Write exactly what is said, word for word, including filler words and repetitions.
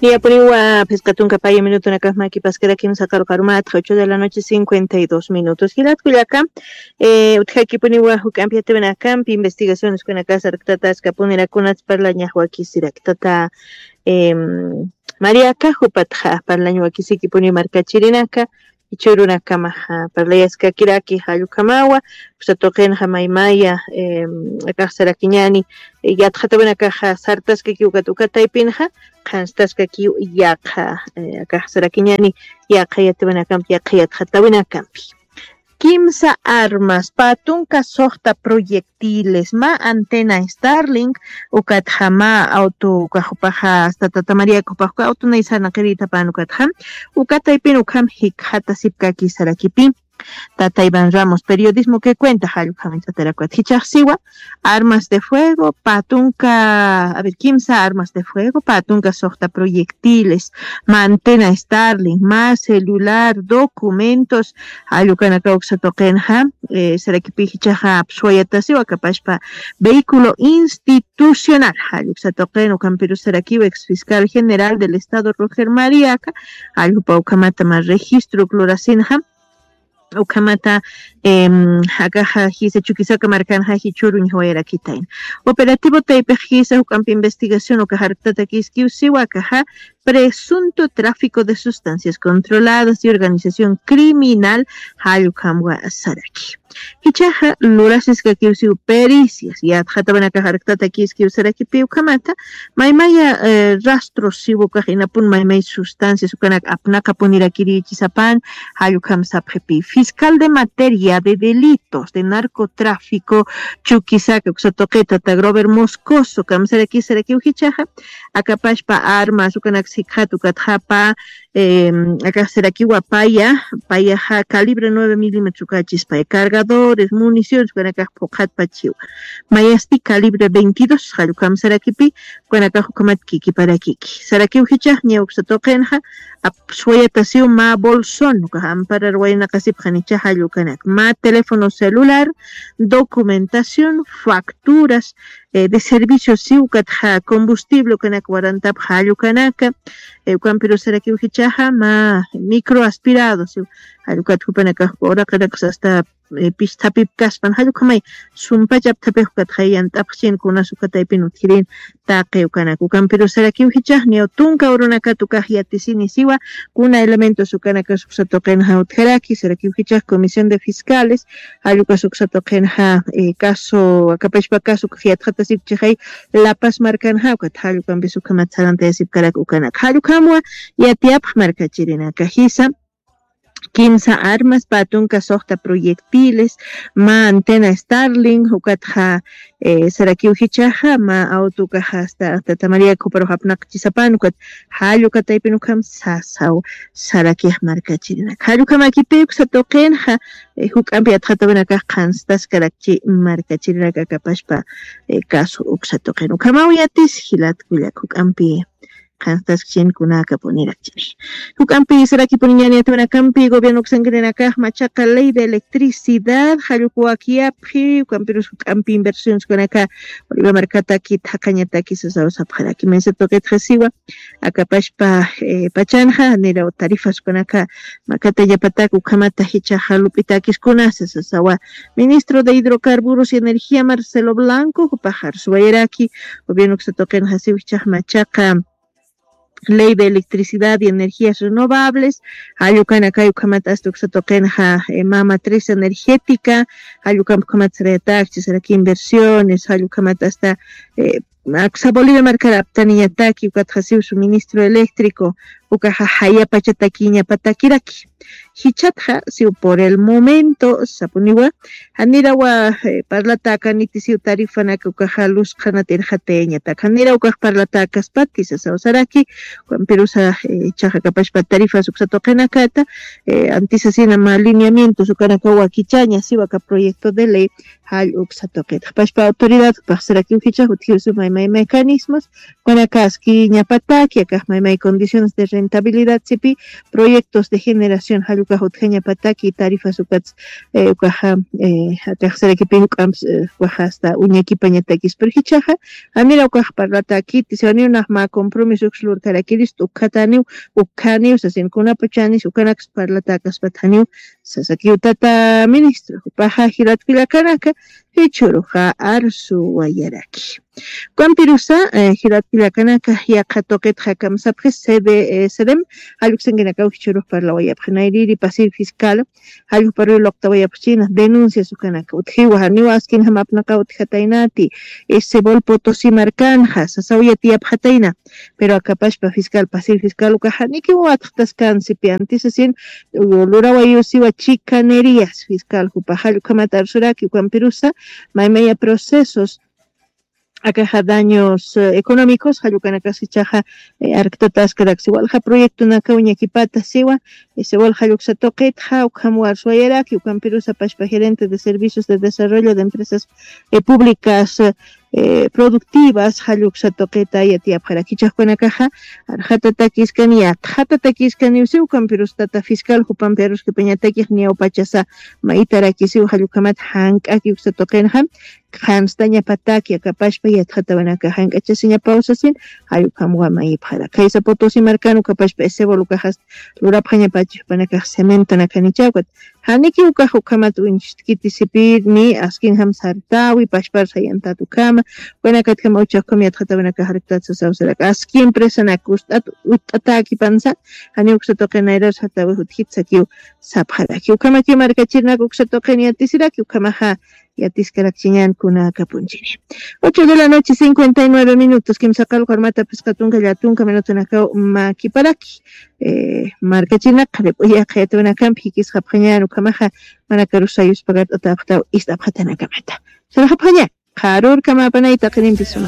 Niyapuniwa phisqa tunka paya minutunakax makipaskarakim saqaruqarumatxa ocho de la noche cincuenta y dos minutos. Jilat kullaka, eh, utjakipuniwa juk'ampi yatiwinakampi investigaciones kunaka sarktata askapunirak kunats parlañax wakisiraktata, em, Mariaka jupatxa parlañ wakisikipuni markachirinaka, ichurunakamaxa parlayaskakiraki jallukamawa, uksa tuqinxa maymaya, em, akaxsarakiñani, eh, yatxatawinakaxa sartaskakiw ukat uka taypinxa, qhanstaskakiw yaqha, eh, akaxsarakiñani, yaqha yatawinakampi, yaqha yatxatawinakampi. Kimsa armas, pä tunka suxta proyectiles, mä antena Starlink, ukatxa mä auto, ukax jupaxa, hasta Tata María, ukax jupax auto naysana qirïtapan ukatxa, uka taypin ukham jikxatasipkaki sarakipi. Tata Iván Ramos, periodismo que cuenta, jallukhamin t'atarakwat jichaxsiwa, armas de fuego, pä tunka, a ver, kimsa armas de fuego, pä tunka suxta proyectiles, mä antena Starlink, mä celular, documentos, jallukanaka uksa tuqinxa, eh, sarakipi jichaxa apsuwayatasiwa, akapashpa vehículo institucional, jalluksa tuqin, ukampirus sarakiwa ex fiscal general del estado Roger Mariaka, jalljupa ukhamata mä registro lurasinxa, ukhamata, em, akaxa jisa Chuquisaca markanxa jichhüru ñawayarakitayna. Operativo taypix jisa juk'ampi investigación uka jarktatakiskiw siwa akaxa presunto tráfico de sustancias controladas y organización criminal, jallukhamwa saraki. Jichaxa lurasiskakiw siw pericias, yatxatawinakax jarktatakiskiw sarakipi ukhamata, maymaya, eh, rastro siw ukax inapun maymay sustancias ukanak apnaqapunirakirichisapan, jallukham sapxipi. Fiscal de materia de delitos de narcotráfico, Chuquisaca, uksa tuqita, tata Grover Moscoso, kamsarakisarakiw jichaxa, akapashpa armas, ukanak sikxat, ukatxapa, em, akaxsarakiwa paya, payaxa calibre nueve milímetros ukachispaya, cargadores, municiones, ukanakax phuqhatpachiwa. Mayasti calibre veintidós, jallukhamsarakipi, ukanakax ukhamat kikiparakiki. Sarakiw jichax, ña uksa tuqinxa, apsuwayatasiw mä bolsón, ukax amparar waynaqasipxanicha jallukanak. Mä teléfono celular, documentación, facturas, eh, de servicio, siw ukatxa combustible, ukanak warantapxa jallukanaka, eh, ukampirus sarakiw jichaxa, mä microaspirado, siw, jallukat jupanakax uraqinakax hasta eh, pistapipkaspan, jallukhamay sumpachaptapix ukatxa yant'apxchin kunas uka taypin utjirin taqi ukanak. Ukampirus sarakiw jichax, niyaw tunka urunakat ukax yatisini siwa, kuna elementos ukanakas uksa tuqinxa utjaraki, sarakiw jichax Comisión de Fiscales, jallukas uksa tuqinxa, eh, caso, akapashpa caso ukax yatxatasipchixay La Paz markanxa, ukat jallukampis ukhamat sarantayasipkarak ukanak. Jallukhamwa yatiyapx markachirinaka jisa, kimsa armas, pä tunka suxta proyectiles, mä antena Starlink, ukatxa, eh, sarakiw jichaxa, mä auto ukaxa hasta, hasta Tata María juparux apnaqchisapan, ukat jalluka taypin ukham sasaw, sarakix markachirinaka. Jallukhamakipï uksa tuqinxa, eh, juk'ampi yatxatawinakax qhanstaskarakchi markachirinaka akapashpa, eh, caso uksa tuqin. Ukhamaw yatis, jilat kullak, juk'ampi qhanstaskchin kunakapunirakchix. Juk'ampi sarakipuniñani yatawinakampi gobierno uksankirinakax machaqa ley de electricidad, jalluk wakiyapxi, ukampirus juk'ampi inversiones ukanaka Bolivia markataki thaqañataki sasaw sapxaraki. Mesa tuqitxa siwa, akapashpa, eh, pachanxa, niraw tarifas ukanaka makatañapatak ukhamata jichaxa lup'itakis kunasa sasawa. Ministro de Hidrocarburos y Energía Marcelo Blanco, jupax arsuwayaraki, gobierno uksa tuqinxa siw jichax machaqa ley de electricidad y energías renovables, jallukanakay ukhamat asta uksa tuqinxa, eh, mä matriz energética, jallukamp ukhamat sarayatakchi, saraki inversiones, jallukhamat asta, eh, aksa Bolivia markar aptaniñataki, ukatxa siw suministro eléctrico, ukaxa jayapachatakiñapatakiraki. Jichatxa, siw por el momento, sapuniwa, janirawa, eh, parlatäkaniti siw tarifanaka ukaxa lus qhanat irxatayañatak. Janira ukax parlatäkaspati sasaw saraki, ukampirusa, eh, jichaxa akapashpa tarifas uksa tuqinakata, eh, antisasina mä lineamientos ukanakaw wakichaña, siw aka proyecto de ley, jall uksa tuqit. Akapashpa autoridad, ukax sarakiw jichax utjiw sumay may mecanismos, kunakaski ñapataki akax may may condiciones de rentabilidad sipi, proyectos de generación jallukax utjañapataki tarifas ukats ukaxa akaxsarakipi juk'amps ukaxa asta uñakipañatakis purjichaxa. Janira ukax parlatakiti siwaniw nax mä compromiso ukslurkarakirist ukkhataniw, ukkhaniw sasin kunapachanis ukanaks parlatäkaspatjaniw sasakiw tata ministro jupaxa jilatkullakanaka. Jichhuruxa arsuwayaraki. Ukampirusa jilatkullakanaka yaqha tuqitxa kamsapxis cd cdm jalluksankinakaw jichhurux parlawayapxi nayriri pasir fiscal. Jallukparuy luqtawayapxchina denuncias ukanaka utjiwa janiwa askinjam apnaqa utjataynati. Sebol potosi markanxa sasaw yatiyapxatayna. Pero akapashpa fiscal pasir fiscal ukaxa nikiwa watxtaskansipi antisasin lurawayusiwa chicanerías fiscal jupaxall ukhamat arsuraki ukampirusa maymaya procesos akaxa daños económicos jallukanakas ichaxa arktataskaraksi walja proyectonakaw ñakipata siwa. Ese walja lluksa tuqitxa ukham warsuwayaraki ukampirusa pashpa gerente de servicios de desarrollo de empresas públicas productivas jalluksa tuqita yatiyapxaraki ichaxkunakaxa arxatatakiskani yatxatatakiskaniw siw ukampirustata fiscal jupampi aruskipañatakix niyawpachasa mayitarakisiw jallukhamat jank'aki uksa tuqinxa. Qhanstañapataki akapashpa yatxatawanaka jank'achasiñapaw sasin. Jallukhamwa mayipxara khaysa potosi markan ukapashpa esebol ukaxas lurapxañapachi jupanakax cementonakanichawkat. Janiki ukax ukhamat uñchtkiti sipirni askinjam sartawi pashpar sayantat ukhama. Ukanakatjama uchaxkham yatxatawanakax arktat sasawsarak aski empresanak ust'at utt'atakipansa. Jani uksa tuqinayrar sartawi jutjit sakiw sapxaraki ukhamaki markachirnak uksa tuqin yatisiraki ukhamaxa yatiskarakchiñan kunakapunchini. Ocho de la noche cincuenta y nueve minutos kimsaqal qurmata phisqa tunka llatunka minutunakaw makiparaki. Markachirnak qharip'uya qhayatunakampi jikisqapxañan ukhamaxa manakarusayuspakart'atapxtaw ist'apxatanakamata. Sarxapxaña qharurkamapanay taqinimpis suma.